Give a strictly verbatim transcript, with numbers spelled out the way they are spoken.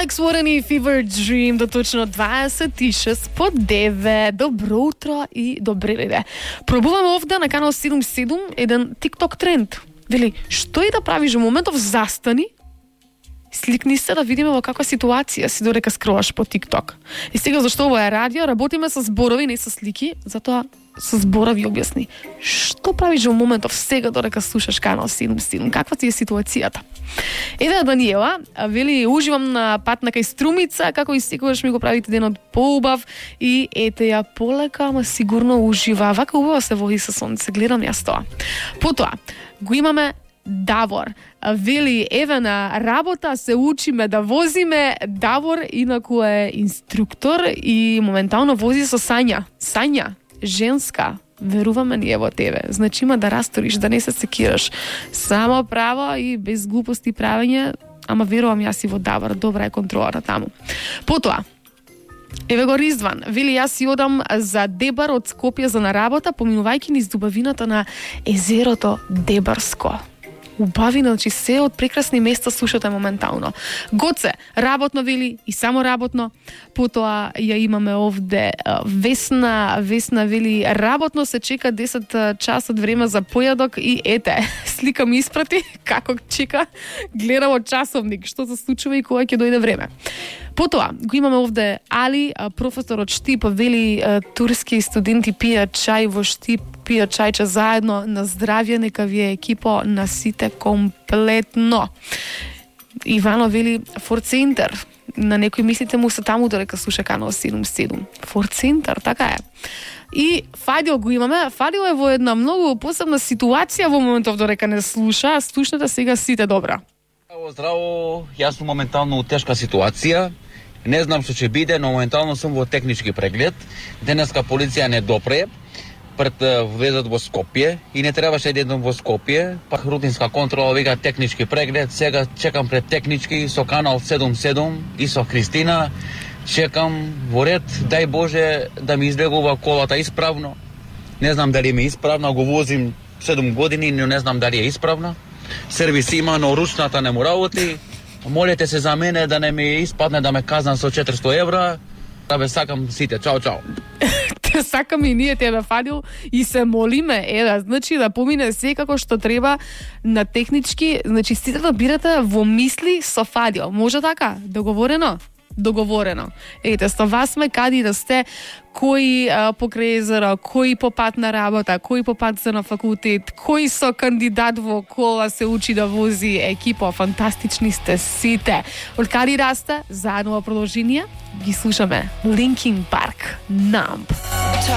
Алекс Уорен и Fever Dream до точно дваесет и шест по девет. Добро утро и добре леде. Пробуваме овде на канал седумдесет и седум еден TikTok тренд. Вели, што и да правиш во моментов, застани, сликни се да видиме во каква ситуација си додека скролаш по TikTok. И сега зашто ова е радио, работиме со зборови, не со слики, затоа со зборови објасни. Што правиш во моментов сега додека слушаш канал седумдесет и седум? Каква ти е ситуацијата? Ева Даниела, вели, уживам на пат на кај Струмица, како и секогаш ми го правите денот поубав и ете ја полека, ама сигурно ужива. Вака убаво се води со сонце, гледам јас тоа. Потоа, го имаме Давор. Вели, еве на работа се учиме да возиме. Давор инаку е инструктор и моментално вози со Сања. Сања, женска, веруваме ние во тебе. Значи има да расториш, да не се секираш. Само право и без глупости правење, ама верувам јас и во Давор. Добра е контролата таму. Потоа, еве го Ризван. Вели, јас си одам за Дебар од Скопје за на работа, поминувајќи низ дубавината на езерото Дебарско. Убавина, значи се од прекрасни места слушате моментално. Гоце, работно вели и само работно. Потоа ја имаме овде Весна, Весна вели работно се чека десет часот време за појадок и ете, слика ми испрати како чека, гледа во часовник што се случува и кога ќе дојде време. Потоа, го имаме овде Али, професор од Штип, вели турски студенти пијат чај во Штип, пијат чајче заедно, на здравје, нека ви е екипо на сите комплетно. Ивано вели Форт Центар, на некој мислите му се таму додека слуша канал седумдесет и седум. Форт Центар, така е. И Фадил го имаме. Фадил е во една многу посебна ситуација во моментов додека не слуша. Слушнете сега сите добра. Здраво, здраво, јас сум моментално у тешка ситуација. Не знам што ќе биде, но моментално сум во технички преглед. Денеска полиција не допре пред влезот во Скопје и не требаше да идам во Скопје, па рутинска контрола вика технички преглед. Сега чекам пред технички со канал седумдесет и седум и со Христина. Чекам во ред, дај Боже да ми излегува колата исправно. Не знам дали ми е исправна, го возим седум години, но не знам дали е исправна. Сервис има, но ручната не му работи. Молете се за мене да не ми испадне да ме казнат со четиристо евра. Да бе, сакам сите. Чао, чао. Те сакаме и ние тебе, Фадил, и се молиме, е, да, значи да помине се како што треба на технички, значи сите да бирате во мисли со Фадил. Може така? Договорено? Договорено. Ете, со вас сме кади да сте, кои а, покрај езеро, кои по пат на работа, кои по пат за на факултет, кои со кандидат во кола се учи да вози екипа, фантастични сте сите. Од кади расте, заедно во продолжение, ги слушаме Linkin Park, Numb.